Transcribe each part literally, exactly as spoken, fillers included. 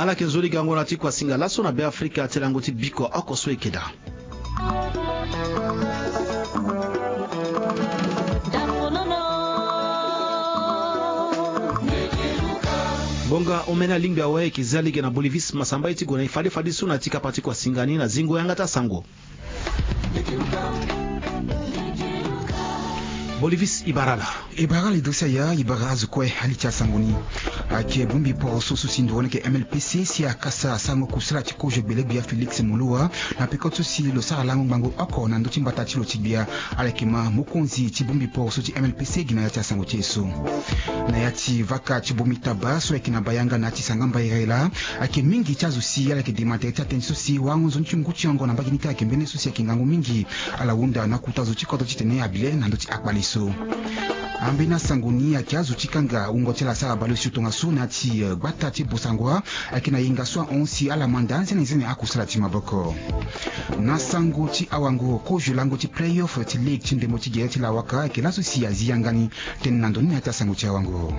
Ala yeke nzoni gango na ti kuasinga laso na Beafrika ti lango ti biko oko so e yeke daa. Ngonga omene alingbi awe e yeke zia lege na Bolivis Masamba ye ti gue na e fade fadeso na ya ti kapa ti kuasinga ni na zingo yanga ti asango. Bolivis, e bara ala. E bara ala, e duti aya, e bara azo kue. Ali ti asango ni. Ayeke bongbi poro so so si nduru ni ayeke M L P C si akasa asango kusala ti kozo gbelegbia Félix Moloua na peko so si lo sara lango ngbangbo oko na ndö ti mbata ti lo ti gbia. Ala yeke ma mokonzi ti bongbi poro so ti M L P C gi na ya ti asango ti e so. Na ya ti vaka ti bongbi taba so ayeke na Bayanga na ya ti Sangamba Irela, ayeke mingi ti azo si ala yeke dema tere ti atënë so si warango nzoni ti ngu ti yongo na mbage ni kâ ayeke mbeni so si ayeke ngangu mingi. Ala hunda na akota zo ti kodro titene abi le na ndö ti akpale so. Ambeni asango ni ayeke azo ti kanga wungo ti ala asara bale osio tongaso na ya ti, eh, gbata ti Bossangoa, ayeke na yenga so ahon si ala manda nzene nzene akusala ti maboko. Na sango ti awango, kozo lango ti play-off ti ligue ti ndembo ti gere ti lawaka ayeke laso si azi yanga ni. Tënë na ndo ni na ya ti asango ti awango.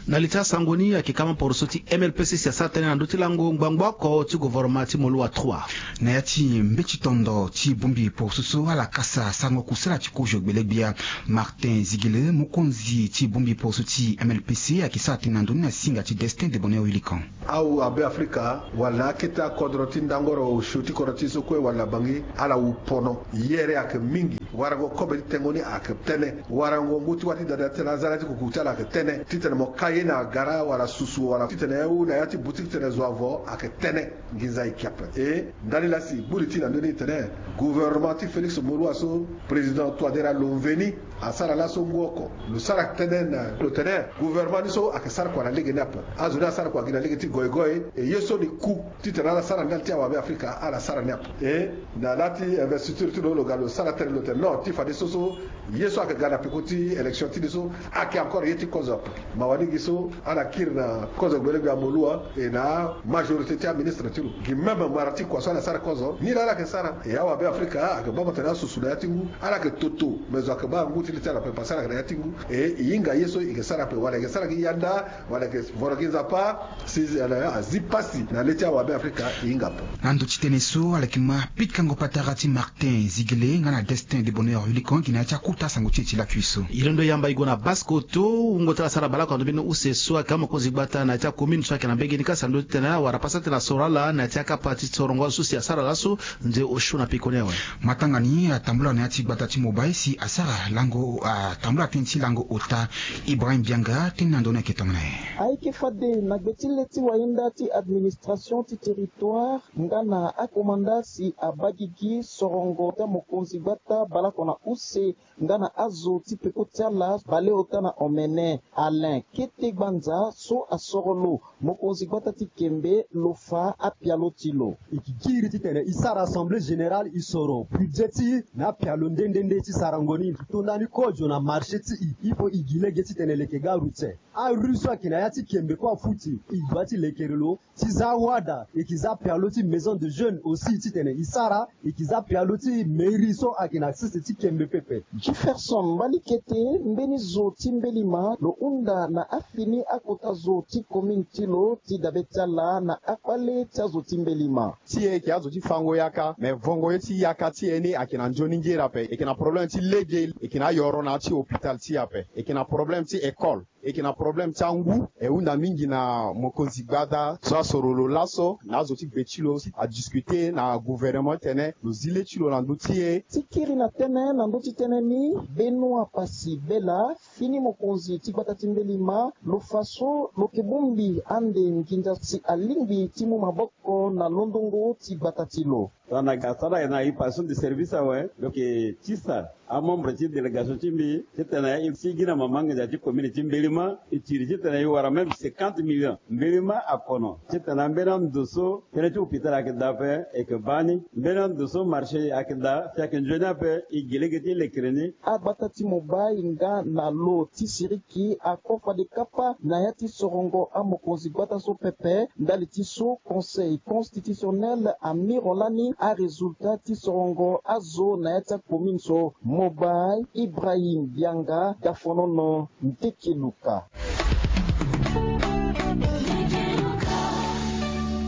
Na li ti asango ni ayeke kama poroso ti M L P C si asara tënë na ndö ti lango ngbangbo oko ti gouvernement ti Moloua trois. Na ya ti mbeti tondo ti bongbi poroso so ala kasa sango kusala ti kozo gbelegbia, Martin Zigele, mokonzi ti bongbi poroso ti M L P C, ayeke sara tënë na ndo ni na singa ti Destin de Bonheur Willikan. Awu abe Afrika wala akete akodro ti ndangoro osio ti kodro ti so kue wala Bangui, ala wu pono. Yere ayeke mingi. Warango kobe ti tengo ni ayeke tënë. Warango ngu ti wâ ti dada titene aza na ya ti kuku ti ala ayeke tënë. Titene mo ka ye na agara wala susu wala titene awu na ya ti boutique titene zo avo ayeke tënë. Nginza e ke ape. E ndali laa si e gbu li ti na ndö ni tene gouvernement ti Félix Moloua so, président Touadéra lo mveni, asara laso ngu oko. Lo sara tënë na lo tene gouvernement ni so ayeke sara kua na lege ni ape. Azo ni asara kua gi na lege ti goigoi. E ye so ni ku titene ala sara ndali ti awabe Afrika, ala sara ni ape. E na laa ti investiture ti lo, lo ga lo sara tënë, lo tene non, ti fadeso so ye so ayeke ga na peko ti élection ti ni so ayeke encore ye ti kozo ape. Mawa ni gi so ala kiri na kozo gbelegbia Moloua, e na amajorité ti aministre ti lo gi même mara ti kua so ala sara kozo ni laa ala yeke sara. E awabe Afrika ayeke baa mo tene asusu na ya ti ngu, ala yeke toto, me zo ayeke baa ngu ti li ti ala ape parce que ala yeke na ya ti ngu. E e hinga ye so e yeke sara ape wala e yeke sara gi yanda, wala e yeke voro gi Nzapa. Si ala azi pasi na le ti awabe Afrika, e hinga ape. Na ndo ti tënë so ala yeke ma pikango patara ti Martin Zigele nga na Destin de Bonheur Willikan gi na ya ti akota sango ti e ti lakui so. E londo yamba e gue na Basse-Kotto, wungo ti ala asara baleoko na ndo mbeni use so ayeke amokonzi gbata na ya ti acommune so ayeke na mbage ni kâ si na ndö ti tene awara pasa tënë na soro ala na ya ti akapa ti sorongo azo so si asara laso. Nze osio na peko ni awe. Matanga ni atambula na ya ti gbata ti Mobay si asara lango, atambula tënë ti lango ota. Ibrahim Bianga, tënë na ndo ni ayeke tongana nyen? Ayeke fade na gbe ti le ti wayenda ti administration ti territoire nga na akomanda si abaa gigi sorongo ti amokonzi gbata baleoko na use nga na azo ti peko ti ala baleota na omene Alain Kete Gbanza so asoro lo mokonzi gbata ti Kembe lo fa apialo ti lo. E ke kiri titene e sara assemblée générale, e soro budget ti e na apialo nde nde nde ti sarango ni. E tonda ni kozo na marché ti e, il faut e gi lege titene leke gare routière. Arue so ayeke na ya ti Kembe kue afuti, e doit ti lekere lo. Ti za wada, e ke za pialo ti maison de jeunes aussi titene e sara, e ke za pialo ti mairie so ayeke na sese ti Kembe pepe. Jefferson Mbalikete, mbeni zo ti mbelima lo hunda na afini akota zo ti commune ti lo ti dabe ti ala na akpale ti azo ti mbelima. Ti e e yeke azo ti fango yaka, me vongo ye ti yaka ti e ni ayeke na nzoni ngere ape. E yeke na problème ti lege, e yeke na ayoro na ya ti hôpital ti e ape, e yeke na problème ti école. E yeke na problème ti angu. E hunda mingi na mokonzi gbata so asoro lo laso na azo ti gbe ti lo si adiscuter na gouvernement titene lo zi le ti lo na ndö ti e. Ti kiri na tënë na ndö ti tënë ni, Benoît Passy Bella, fini mokonzi ti gbata ti mbelima, lo fa so lo yeke bongbi ande nginza si alingbi ti mu maboko na londongo ti gbata ti lo. Tongana ga asara na e passation de service awe, lo yeke tisa amembre ti délégation ti mbi titene e sigi na mama nginza ti commune ti mbelima, e tiri titene e wara même cinquante millions. Mbelima akono titene ambeni ando so tënë ti hôpital ayeke daa ape, e yeke baa ni. Mbeni ando so marché ayeke daa si ayeke nzoni ape, e gi lege ti lekere ni. Agbata ti Mobay nga na lo ti siriki ako fade kapa na ya ti sorongo amokonzi gbata so pepe. Ndali ti so Conseil constitutionnel amiro lani arésultat ti sorongo azo na ya ti acommune so. Mobay, Ibrahim Bianga, Dafonono, Ntekeluka.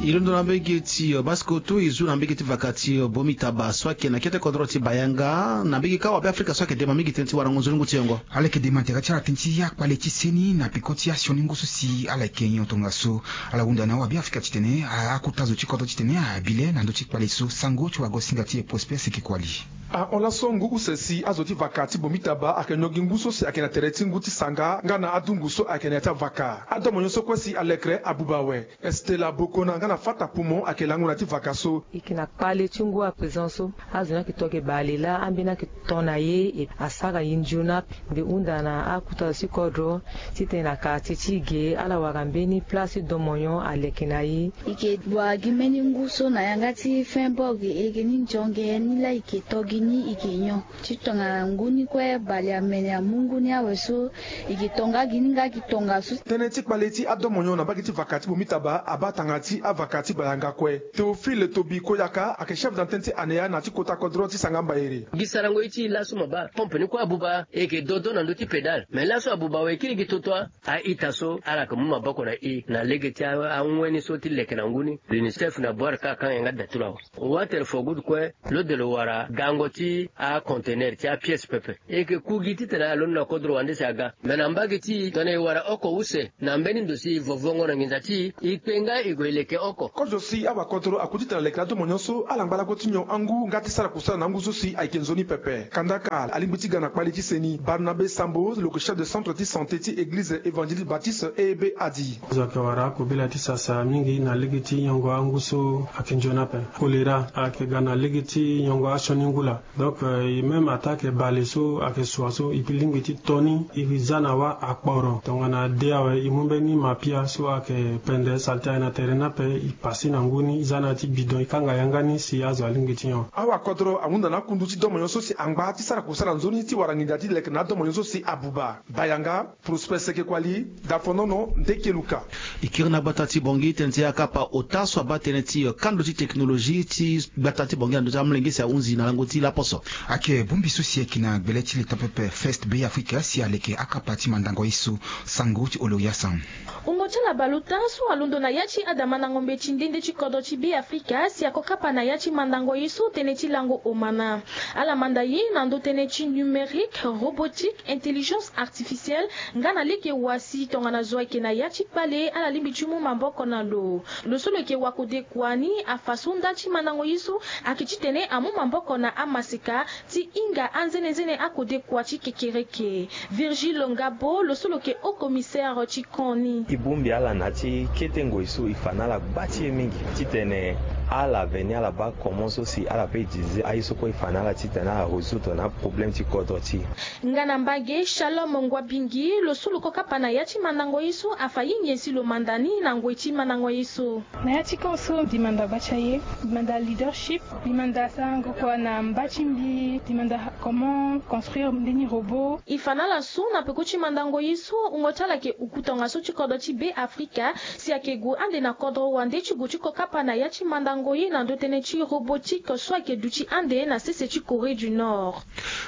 E londo na mbege ti, eh, Basse-Kotto, e zu na mbege ti vaka ti, eh, Bomitaba so ayeke na kete kodro ti Bayanga. Na mbege kâ wabe Afrika so ayeke dema mingi tënë ti warango nzoni ngu ti yongo. Ala yeke dema tere ti ala tënë ti akpale ti seni na peko ti asioni ngu so si ala yeke nyon tongaso. Ala hunda na wabe Afrika titene, a, akota zo ti kodro titene abi le na ndö ti kpale so. Sango ti wagosinga ti e Prosper Sekekuali. Ahon laso ngu use si azo ti vaka ti Bomitaba ayeke nyon gi ngu so si ayeke na tere ti ngu ti sanga nga na adungu so ayeke na ya ti avaka. Adomo nyon so kue si alekere abuba awe. Estela Bokona nga na Fata Poumon ayeke lango na ya ti vaka so. E yeke na kpale ti ngu à présent so azo ni ayeke to ayeke bale laa, ambeni ayeke to na ye, e asara ye nzoni ape. Mbi hunda na akota zo ti kodro titene na quartier ti e ge ala wara mbeni place ti domo nyon aleke na e. E yeke wara gi mbeni ngu so na yanga ti Freiburg, e yeke ni nzonge ni laa e yeke to gi ni e yeke nyon. Ti tongana ngu ni kue bale amene amu ngu ni awe so, e yeke to nga gi ni nga gi tongaso. Tënë ti kpale ti adomo nyon na mbage ti vaka ti Bomitaba abaa tanga ti avaka ti Bayanga kue. Théophile Tobi Koyaka ayeke chef d'antenne ti ANEA na ti kota kodro ti Sanga Mbaere. Gi sarango ye ti e laso mo baa pompe ni kue abuba, e yeke dodo na ndö ti pédale. Me laso abuba awe e kiri gi toto a a-ita so ala yeke mu maboko na e na lege ti a, anguen ni so ti leke na ngu ni. L'UNICEF na Boer kâ akanga yanga da ti lo awe. Water for good kue lo de lo wara gango ti aconteneur ti apièce pepe. E yeke ku gi titene alondo na kodro wande si aga. Me na mbage ti e tongana e wara oko use na mbeni ndo si e vo vongo na nginza ti e, e kpe nga e gue e leke oko. Kozo si awakodro aku titene aleke na adomo nyon so ala ngba lakue ti nyon angu nga ti sara kusala na angu so si ayeke nzoni pepe. Kandaka alingbi ti ga na kpale ti seni. Barnabe Sambo lo yeke chef de centre ti santé ti église évangélique baptiste E B Adi. Azo ayeke wara akobela ti sasa mingi na lege ti nyongo angu so ayeke nzoni ape. Choléra ayeke ga na lege ti nyongo asioni ngu laa. Donc, euh, e même attaque bale so ayeke sua so, e lingbi ti to ni, e za na wâ akporo. Tongana de awe, e mu mbeni mapia so ayeke pende saleté aye na tere ni ape, e pase na ngu ni, e za na yâ ti bidon, e kanga yanga ni si azo alingbi ti nyon. Awakodro ahunda na akundu ti domo nyon so si angba ti sara kusala nzoni ti wara nginza ti leke na adomo nyon so si abuba. Bayanga, Prosper Sekekuali, Dafonono, Ndekeluka. E kiri na gbata ti Bangui tënë ti akapa ota so abaa tënë ti, eh, kando ti technologie ti gbata ti Bangui na ndö ti amolenge si ahunzi na lango ti laposo. Ayeke bongbi so si ayeke na gbele ti leta pepe First Bee Africa si aleke akapa ti mandango ye so. Sango ti Oloria Sam. Wungo ti ala bale ota so alondo na ya ti ada mandango mbeti nde nde ti kodro ti Bee Africa si ako kapa na ya ti mandango ye so tënë ti lango omana. Ala manda ye na ndö tënë ti numérique, robotique, intelligence artificielle, nga na lege wa si tongana zo ayeke na ya ti kpale ala lingbi ti mu maboko na lo. Lo so lo yeke wakodekua ni afa so nda ti mandango ye so ayeke titene amu maboko na amaseka ti hinga anzenenzene akodekua ti kekereke. Virgile Ngabo lo so lo yeke haut commissaire ti camp ni. E bongbi ala na ya ti kete ngoi so e fa na ala gba ti e mingi titene ala veni ala baa comment so si ala peut utiliser aye so kue e fa na ala titene ala résoudre na aproblème ti kodro ti e. Nga na mbage Shalom Ngwabingi lo so lo ko kapa na ya ti mandango ye so afa ye nyen si lo manda ni na ngoi ti mandango ye so. Na ya ti camp so mbi manda gba ti aye, mbi manda leadership, mbi manda sarango kua na mba ti mbi, mbi manda comment construire mbeni robot. E fa na ala so na peko ti mandango ye so wungo ti ala yeke uku tongaso ti kodro ti Be Afrika si ayeke gue ande na kodro wande ti gue ti ko kapa na ya ti mandango ye na ndö tënë ti robotique so ayeke duti ande na sese ti Corée du Nord.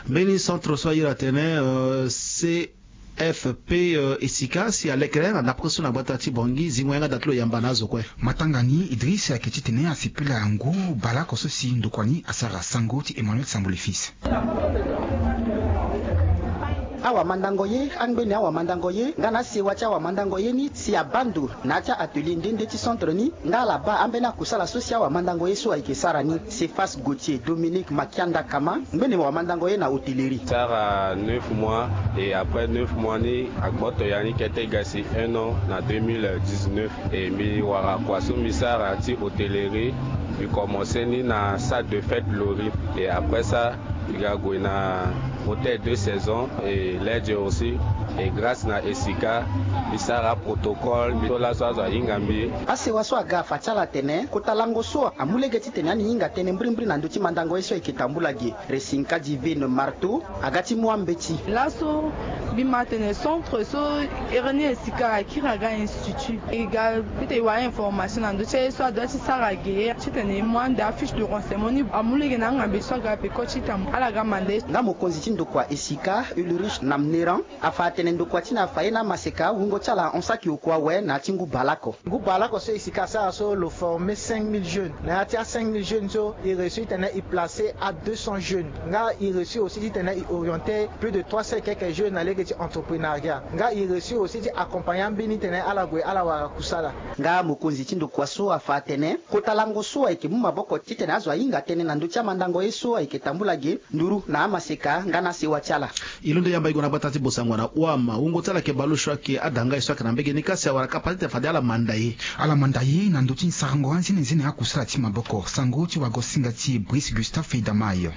Mbeni centre so a iri atene, euh, C F P, euh, e sika si alekere na ndapre so na gbata ti Bangui zingo yanga da ti lo yamba na azo kue. Matanga ni Idriss ayeke titene asepela ngu baleoko so si ndokua ni asara. Sango ti Emmanuel Sambo le fils. Awamandango ye, angbeni awamandango ye nga na asewa ti awamandango ye ni si abaa ndo na ya ti a-atelier nde nde ti centre ni, nga ala baa ambeni akusala so si awamandango ye so ayeke sara ni. Cephas Gauthier, Dominique Makianda Kama, ngbene wamandango ye na hotellerie. Sara neuf mois, et après neuf mois ni agboto ya ni kete ga si un an na deux mille dix-neuf. Et mbi wara kua so mbi sara ti hotellerie, mbi commencé ni na salle de fête Lori. Et après ça, mbi ga gue na hôtel deux saisons et Ledger aussi. Et grâce na esika, mbi sara protocole, mbi to laso azo ahinga mbi. Asewa so aga afa ti ala atene kota lango so amu lege titene ani hinga tënë mbirimbiri na ndö ti mandango ye so ayeke tambula ge. Resinka Divine Marteau aga ti mu ambeti. Laso mbi ma atene centre so ere ni esika akiri aga institut. E ga peut-être e wara information na ndö ti aye so adoit ti sara ge titene e mu ande afiche de renseignement ni amu lege na angambeti so aga peko ti tambula ala ga manda ye. Nga mokonzi ti Ndokua esika Ulrich Namneran afa atene ndokua ti na afa ye na amaseka wungo ti ala ahon saki oko awe na ya ti ngu baleoko. Ngu baleoko so esika asara so lo forme cinq mille jeunes. Na ya ti a cinq mille jeunes so e réussi titene e place a deux cents jeunes. Nga e réussi aussi titene e oriente plus de trois cents et quelques jeunes na lege ti entreprenariat. Nga e réussi aussi ti accompagne ambeni titene ala gue ala wara kusala. Nga mokonzi ti ndokua so afa atene kota lango so ayeke mu maboko titene azo ahinga tënë na ndö ti amandango ye so ayeke tambula ge nduru na amaseka nga na asewa ti ala. E londo yamba e gue na gbata ti Bosangwa na Ouama, wungo ti ala ayeke baleosio ayeke ada nga e so ayeke na mbege ni kasi awara kapa titene fade ala manda ye. Ala manda ye na ndö ti sarango anzenenzene akusala ti maboko. Sango ti wagosinga ti Brice Gustave Feidamay.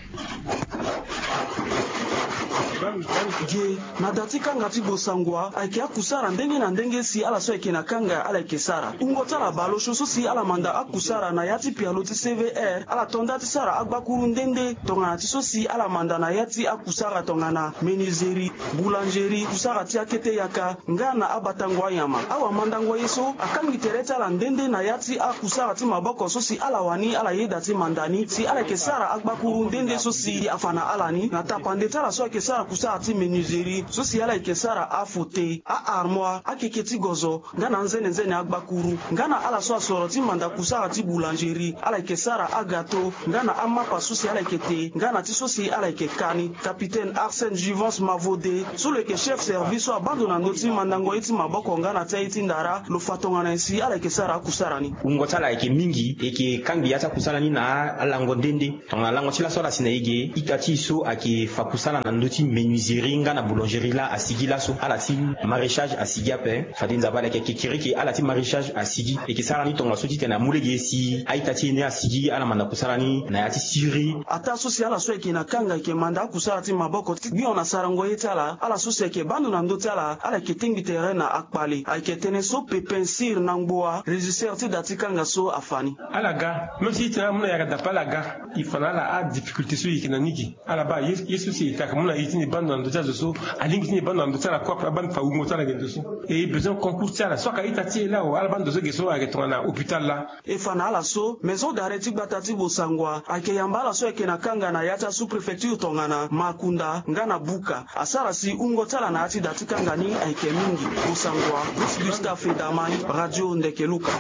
Ge na da ti kanga ti Bosangwa ayeke akusara ndenge na ndenge si ala so ayeke na kanga ala yeke sara. Wungo ti ala baleosio so si ala manda akusara na ya ti pialo ti C V R, ala to nda ti sara agbakuru nde nde tongana ti so si ala manda na ya ti akusara tongana menuiserie, boulangerie, kusara ti akete yaka nga na abatango anyama. Awamandango ye so akangi tere ti ala nde nde na ya ti akusara ti maboko so si ala wani ala yeda ti manda ni si ala yeke sara agbakuru nde nde so si afa na ala ni na tapande ti ala so ayeke sara kusara ti menuiserie so si ala yeke sara afauteuil, a-armoire, akeke ti gozo, nga na anzenenzene agbakuru. Nga na ala so asoro ti manda kusara ti boulangerie, ala yeke sara agato nga na amapa so si ala yeke te nga na ti so si ala yeke ka ni. Capitaine Arsène Juvence Mavode so lo yeke chef service so abaa ndo na ndö ti mandango ye ti maboko nga na ti aye ti ndara, lo fa tongana nyen si ala yeke sara akusara ni. Wungo ti ala ayeke mingi, e yeke kangbi ya ti akusala ni na alango nde nde. Tongana lango ti laso ala si na e ge, ita ti e so ayeke fa kusala na ndö ti menuiserie nga na boulangerie laa asigi laso, ala ti maraîchage asigi ape. Fade Nzapa ala yeke kekereke, ala ti maraîchage asigi. E yeke sara ni tongaso titene amu lege si a-ita ti e ni asigi ala manda kusala ni na ya ti siri. Ataa so si ala so ayeke na kanga ayeke manda akusala ti maboko ti gbion na sarango ye ti ala, ala so si ayeke baa ndo na ndö ti ala, ala yeke tengbi tere na akpale. Ayeke tënë so Pépin Cyr Nangboa, régisseur ti da ti kanga so afa ni. Ala ga, même si e tene ala mu na yanga dape ala ga, e fa na ala adifficulté so e yeke na ni ge. Ala baa ye, ye so si e yeke mu na e ti ni baa ndo na ndö ti azo so, alingbi ti ni baa ndo na ndö ti ala kue ape abaa ni fa wungo ti ala ge ndo so. E besoin concours ti ala so ayeke a-ita ti e laa, ala baa ndo so ge so ayeke tongana hôpital laa. E fa na ala so, maison d'arrêt ti gbata ti Bosangwa ayeke yamba ala so ayeke na kanga na ya ti asous-préfecture tongana Makunda nga na Buka. Asara si wungo ti ala na ya ti da ti kanga ni ayeke mingi. Bosangwa, Bruce Gustave Edamay, Radio Ndeke Luka.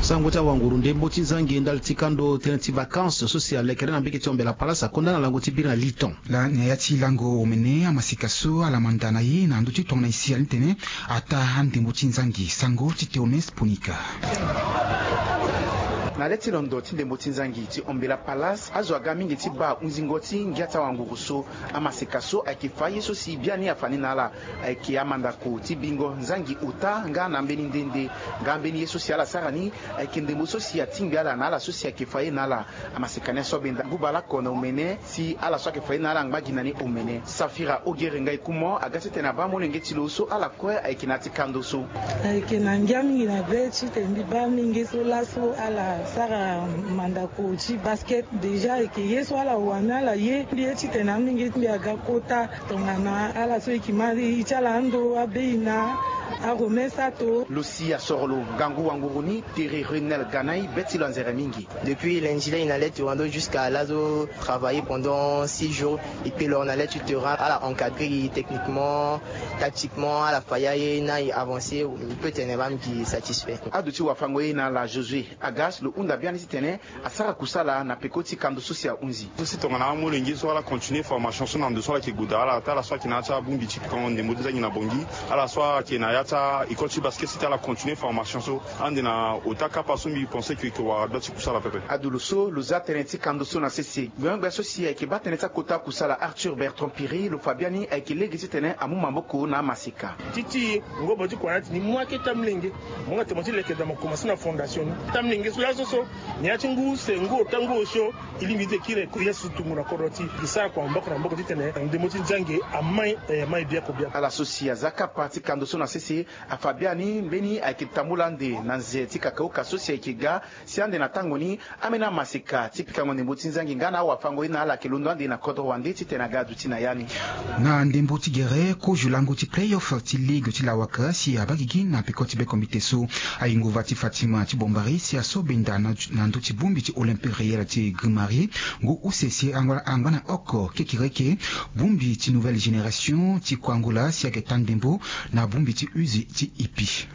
Sango ti awanguru ndembo ti nzangi ndali ti kando tënë ti vacances so si alekere na mbege ti Ombela Palace akonda na lango ti biri na liton. Laa na ya ti lango omene amaseka so ala manda na ye na ndö ti tongana e si ala ni tene ataa andembo ti nzangi. Sango ti Théoneste Ponika. Na le ti londo ti ndembo ti nzangi ti Ombela Palace, azo aga mingi ti baa hunzingo ti ngia ti awanguru so. Amaseka so ayeke fa ye so si biani afa ni na ala ayeke amandako ti bingo nzangi ota nga na ambeni nde nde. Nga ambeni ye so si ala sara ni ayeke ndembo so si atingbi ala na ala so si ayeke fa ye na ala. Amaseka ni aso abenda ngu baleoko na omene si ala so ayeke fa ye na ala angba gi na ni omene. Safira Ogere Ngai Kumo aga titene abaa molenge ti lo so ala kue ayeke na ya ti kando so. Ayeke na ngia mingi na be titene mbi baa molenge so laso ala sara mandako ti basket. Déjà ayeke ye so ala wani ala ye. Mbi ye titene amolenge ti mbi aga kota tongana ala so e yeke ma e ti ala ando abei na arome sato. Lo si asoro lo ngangu wanguru ni tere Renel Ganai be ti lo anzere mingi. Depuis lundi laa e na le ti wando jusqu'à laa azo travailler pendant six jours. E kpe lo na le ti terrain, ala encadrer e techniquement, tactiquement, ala fa ya ye na e avancer. E peut tene baa mbi satisfait. Aduti wafango ye na ala Josué Agas lo hunda biani titene asara kusala na peko ti kando so si ahunzi. So si tongana amolenge so ala continuer formation so na ndo so ala yeke gue daa, ala taa ala so ayeke na ya ti abongbi ti kango ndembo ti nzangi na Bangui, ala so ayeke na ya ti a-école ti basket si tene ala continuer formation so. Ande na ota kapa so mbi pense que e yeke wara gbia ti kusala pepe. Ado lo so lo za tënë ti kando so na sese. Gbenyogbia so si ayeke baa tënë ti akota kusala Arthur Bertrand Piri lo fa biani ayeke lege titene amu maboko na amaseka. Ti ti ngobo ti kua na ya ti ni mu akete amolenge. Mo nga tene mo ti leke daa mo commencer na fondation ni. Ti amolenge so laso so na ya ti ngu use ngu ota ngu osio. E lingbi ti kiri eko ye so tungo na kodro ti e sara kua maboko na maboko titene ndembo ti nzangi amai, eh, amai biako biako. Ala so si aza kapa ti kando so na sese. Afa biani mbeni ayeke tambula ande na nze ti kakauka so si ayeke ga si ande na tango ni. Ambeni amaseka ti pikango ndembo ti nzangi nga na awafango ye na ala ayeke londo ande na kodro wande titene aga aduti na ya ni. Na ndembo ti gere kozo lango ti playoff ti ligue ti lawaka si abaa gigi na peko ti bekombite so. Aye nguva ti Fatima ti Bombari si aso benda na ndö ti bongbi ti Olympique Real ti Grimari. Ngu use si angba na oko kekereke bongbi ti Nouvelle Génération ti Kuangola si ayeke ta ndembo na bongbi ti Uzi ti Ipi.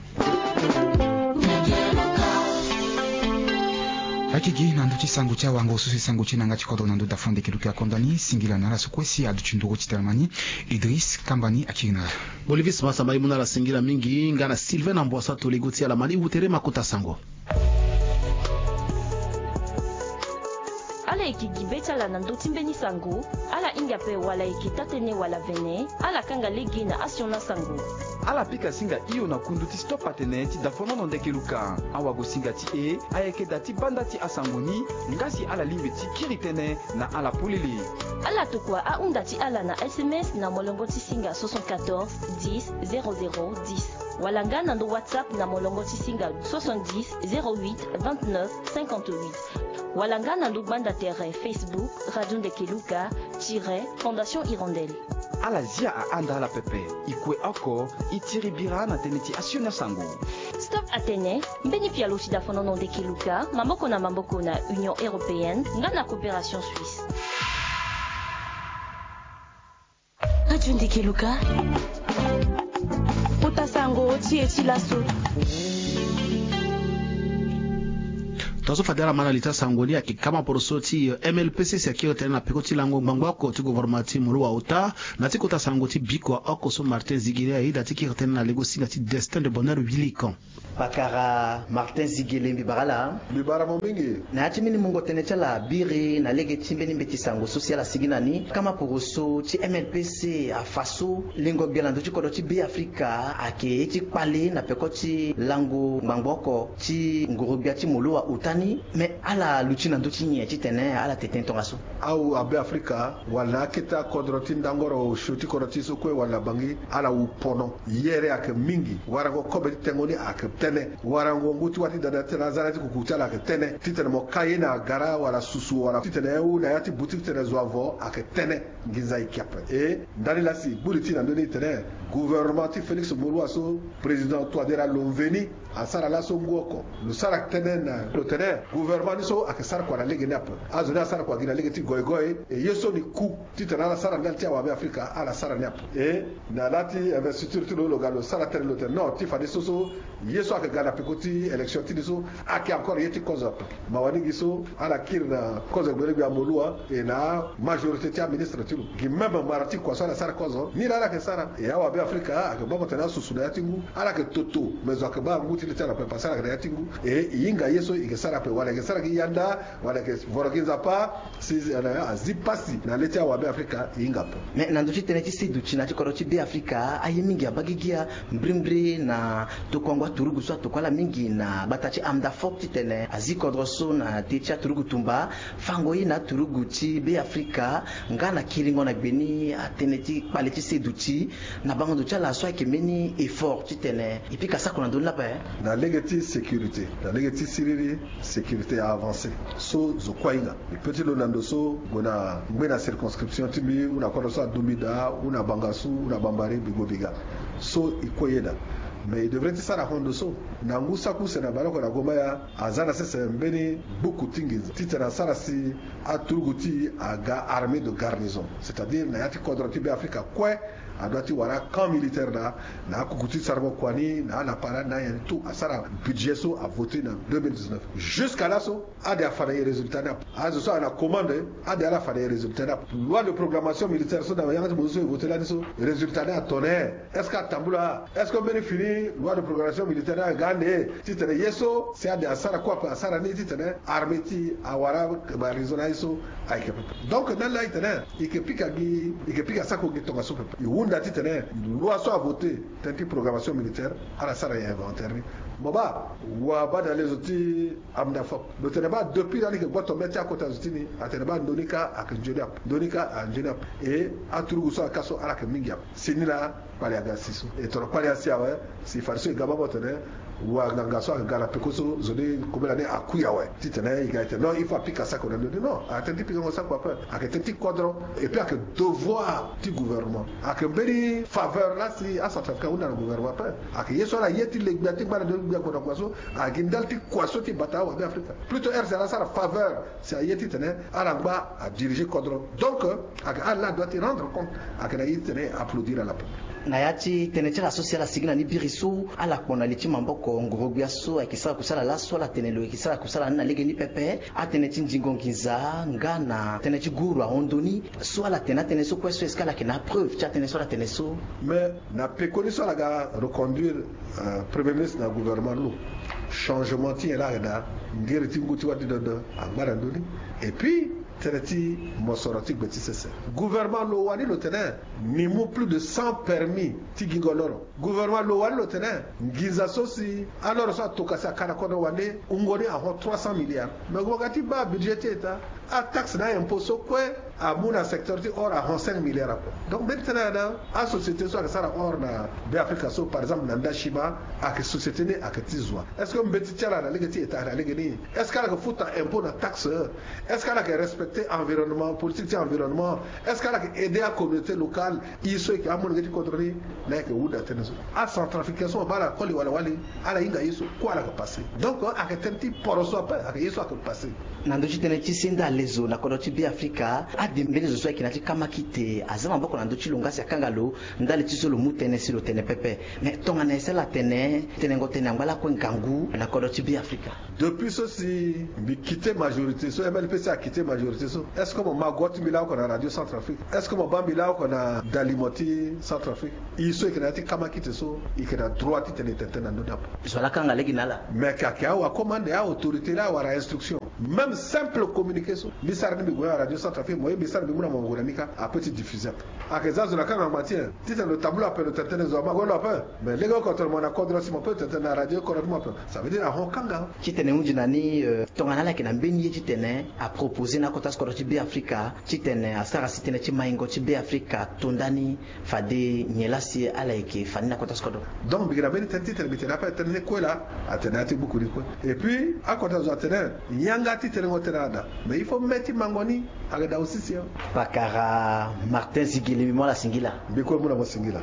Akigi na ndö ti sango ti awango so si sango ti e na yanga ti kodro na ndö dafo ndeke luki akonda ni singila na ala so kue si aduti nduru ti tene ma ni. Idriss Kambani akiri na ala. Bolivis Masamba, e mu na ala singila mingi nga na Sylvain na Mboisa to lego ti ala ma ni wutere ma kota sango. Ala yeke gi be ti ala na ndö ti mbeni sango. Ala hinga ape wala ayeke taa-tënë wala vene, ala kanga lege na asioni asango. Ala pika singa hio na kundu ti Stop Atene ti dafonono ndeke luka. Awagosinga ti e ayeke da ti banda ti asango ni. Nga si ala lingbi ti kiri tënë na ala polele. Ala tokua ahunda ti ala na S M S na molongo ti singa soixante-quatorze dix zéro zéro dix, wala nga na ndo WhatsApp na molongo ti singa soixante-dix zéro huit vingt-neuf cinquante-huit, wala nga na ndo gbanda tere Facebook Radio Ndeke Luka tiret Fondation Hirondelle. Ala zia ahanda ala pepe. E kue oko, e tiri bira na tënë ti asioni asango. Stop Atene, mbeni pialo ti dafonono ndeke luka, maboko na maboko na Union Européenne nga na Coopération Suisse. Radio Ndeke Luka. Kota sango ti e ti laso. Tongaso fade ala ma na li ti asango ni ayeke kama poroso ti M L P C si akiri tënë na peko ti lango ngbangbo oko ti gouvernement ti Moloua ota. Na ti kota sango ti bikua oko so Martin Zigele ayeda ti kiri tënë na lego singa ti Destin de Bonheur Wilikan. Pakara Martin Zigele, mbi bara ala. Mbi bara mo mingi. Na ya ti mbeni mungo tënë ti ala biri na lege ti mbeni mbeti sango so si ala sigi na ni, kama poroso ti M L P C afa so lengo gbia na ndö ti kodro ti Be Afrika ayeke ye ti kpale na peko ti lango ngbangbo oko ti nguru-gbia ti Moloua ota ni. Me ala luti na ndö ti nyen titene ala tete tongaso? Awu a Be Afrika wala na akete akodro ti ndangoro osio ti kodro ti e so kue wala na Bangui, ala wu pono. Yere ayeke mingi. Warango kobe ti tengo ni ayeke tënë. Warango ngu ti wâ ti dada titene aza na ya ti kuku ti ala ayeke tënë. Titene mo ka ye na gara wala susu wala titene e wu na ya ti boutique titene zo avo ayeke tënë. Nginza e ke ape. E ndani laa si e gbu li ti e na ndö ni titene gouvernement ti Félix Moloua so, président Touadéra lo mveni, asara laso ngu oko. Lo sara tënë na lo tene gouvernement ni so ayeke sara kua na lege ni ape. Azo ni asara kua gi na lege ti goigoi. E ye so ni ku titene ala sara ndali ti awa Be Afrika, ala sara ni ape. E na laa ti investiture ti lo, lo ga lo sara tënë, lo tene non, ti fadeso so ye so ayeke ga na peko ti élection ti ni so ayeke encore ye ti kozo ape. Mawa ni gi so ala kiri na kozo gbele gbia Moloua e na majorité ti aministre ti lo. Gi même mara ti kua so ala sara kozo ni laa ala yeke sara. E awa Be Afrika ayeke baa mo tene asusu na ya ti ngu, ala yeke toto, mais zo ayeke baa ngu ti li ti ala ape parce que ala yeke na ya ti ngu. E e hinga ye so e yeke sara ape wala e yeke sara gi yanda wala e yeke voro gi nzapa. Si azi pasi na le ti awa Be Afrika e hinga ape. Me na ndö ti tënë ti seduti na ya ti kodro ti Be Afrika, aye mingi abaa gigi ya. Mbrimbri na tokuango aturugu so atokua ala mingi na gbata ti Amdafop titene azi kodro so na te ti aturugu tumba, fango ye na aturugu ti Be Afrika nga na kiringo na gbe ni atënë ti kpale ti seduti. Na bango ndo ti ala so ayeke mbeni effort titene e pika sako na ndö ni lapa e? Na lege ti sécurité, na lege ti siriri, sécurité a avancé. So zo kue ahinga. E peut ti lo na ndo so gue na ngbe na circonscription ti mbi, ou na kodro so adu mbi daa, ou na Bangassou, ou na Bambari, mbi gue mbi ga. So e kue ye daa. Mais e devrait ti sara hon ndo so. Na ngu saki use na baleoko na Gomaya, aza na sese mbeni buku ti nginza titene asara si aturugu ti e aga armée de garnison, c'est-à-dire na ya ti kodro ti Be Afrika kue, adoit ti wara camp militaire na, na akuku ti sarango kua ni, na ala para na nyen tout, asara budget so avoté na deux mille dix-neuf. Jusqu'à laso, ade afa na e résultat ni ape. Azo so ana commande, ade ala fa na e résultat ni ape. Loi de programmation militaire so na yanga ti bonzo so e voté lani so, résultat ni atene. Est-ce que atambula? Est-ce que mbeni fini loi de programmation militaire ni aga ande titene ye so si ade asara kue ape asara ni titene armée ti e awara ba raison na ye so ayeke pepe. Donc ndani laa e tene e yeke pika gi, e yeke pika sako gi tongaso pepe. E hunda titene loi so avoté tënë ti programmation militaire, ala sara e inventaire ni. Mo baa, wa baa na lezo ti Amdafop. Lo tene baa depuis lani e yeke gboto mê ti akota zo ti ni, atene baa ndo ni kâ ayeke nzoni ape, ndo ni kâ anzoni ape. E aturugu so ayeke kâ so ala yeke mingi ape. Si ni laa kpale aga si so. E toro kpale asi awe. Si fadeso e ga baba tene wa nganga so ayeke ga na peko so zo ni kobela ni akui awe. Titene e ga e tene non, il faut apika sako na ndö ni. Non, ayeke tene ti pikango sako ape. Ayeke tene ti kodro. Et puis ayeke devoir ti gouvernement. Ayeke mbeni faveur laa si acentrafricain ahunda na gouvernement ape. Ayeke ye so ala ye ti le gbia ti ngba na ndö ni gbia gbona kua so. Ayeke gi ndali ti kua so ti bata awa Beafrika. Plutôt R C A laa asara faveur si aye titene ala ngba adirige kodro. Donc ayeke ala doit ti rendre compte. Ayeke na ye titene e applaudir ala ape. Na ya ti tënë ti ala so si ala sigi na ni biri so ala kpo na li ti maboko ngoro-gbia so ayeke sara kusala laso, ala tene lo yeke sara kusala ni na legeni pepe. Atënë ti nzingo nginza nga na tënë ti guru ahon ndö ni so ala tene atënë so kue so, est-ce que ala yeke na apreuve ti atënë so ala tene so? Mais na pekoni so ala ga reconduire, euh, premier ministre na gouvernement ni lo, changement ti nyen laa ayeke daa? Ngiri ti ngu ti wâ ti dodo angba na ndö ni. Et puis tënë ti mosoro ti gbe ti sese. Gouvernement lo wani lo tene ni mu plus de cent permis ti gingo loro. Gouvernement lo wani lo tene nginza so si aloro so atoka si aka na kodro wande wungo ni ahon trois cent milliards. Mais mo ga ti baa budget ti état, ataxe na aimpôt so kue amu na secteur ti or ahon cinq milliards ape. Donc mbeni tënë ayeke daa, asociété so ayeke sara or na Beafrika so, par exemple na Ndashima, ayeke société ni ayeke ti zo wa? Est-ce que mbeti ti ala na lege ti état na lege ni? Est-ce que ala yeke futa impôt na taxe? Est-ce que ala yeke respecter environnement, politique ti environnement? Est-ce que ala yeke aider acommunauté locale? E so e yeke amolenge ti kodro ni. Na e yeke hunda tënë so, acentrafricain so mo baa ala koli wala wali, ala hinga ye so kue ala yeke passé. Donc ayeke tënë ti poro so ape, ayeke ye so ayeke passé. Na ndö ti tënë ti senda lezo na kodro ti Beafrika, ade mbeni zo so ayeke na ya ti kamakite aza maboko na ndö ti lo nga si akanga lo ndali ti so lo mu tënë si lo tene pepe. Mais tongana e sara tene, tenengo tënë angba lakue ngangu na kodro ti Beafrika. Depuis so si mbi quitté majorité so, M L P C a quitté majorité so, est-ce que mo ma go ti mbi laoko na Radio Centrafrique? Est-ce que mo baa mbi laoko na dalimo ti Centrafrique? E so e yeke na ya ti kamakite so, e yeke na droit ti tene tene tënë na ndö ni ape. Zo laa akanga lege na ala. Mais ka ayeke awa commande, a autorité laa awara instruction. Même simple communiqué so mbi sara ni mbi gue na Radio Centrafrique, mo ye mbi sara mbi mu na mo ngu na ni kâ, ape ti diffuser ape. Ayeke za zo na kanga ngba ti nyen? Titene lo tambula ape, lo tene tënë zo ama gue lo ape. Mais lege oko tene mo na kodro si mo peut tene tënë na radio oko na ti mo ape. Ça veut dire ahon kanga. Titene hunzi na ni, euh, tongana ala yeke na mbeni ye titene aproposer na akota ti kodro ti Beafrika titene asara si tënë ti maingo ti Beafrika ato ndani, fade nyen laa si ala yeke fa ni na akota ti kodro? Donc mbi yeke na mbeni tënë titene mbi tene ape, tënë ti kue laa atene na ya ti buku ni kue. Et puis akota zo atene yanga ti tenengo tënë ala daa. Mais il faut mê ti mango ni ayeke daa aussi si. Pakara Martin Zigele, mbi mu ala singila. Mbi kue mu na mo singila.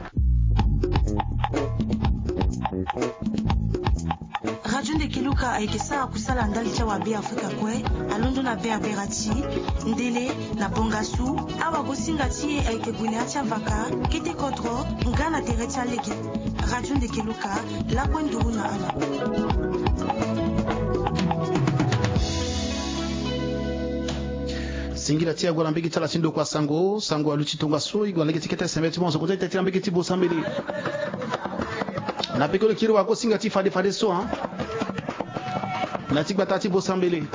Radio Ndekeluka ayeke sara kusala ndali ti awa Beafrika kue, alondo na Berbera ti Ndele na Bongasu. Awagosinga ti e ayeke gue na ya ti avaka, kete kodro nga na tere ti alege. Radio Ndekeluka, lakue nduru na ala. Singila ti e ague na mbage ti ala ti ndokua sango. Sango aluti tongaso, e gue na lege ti kete sembe ti mo zo kota ti teti na mbage ti Bosambele. Na pekoni kiri wagosinga ti fade fade so, hein, na ti gbata ti Bosambele.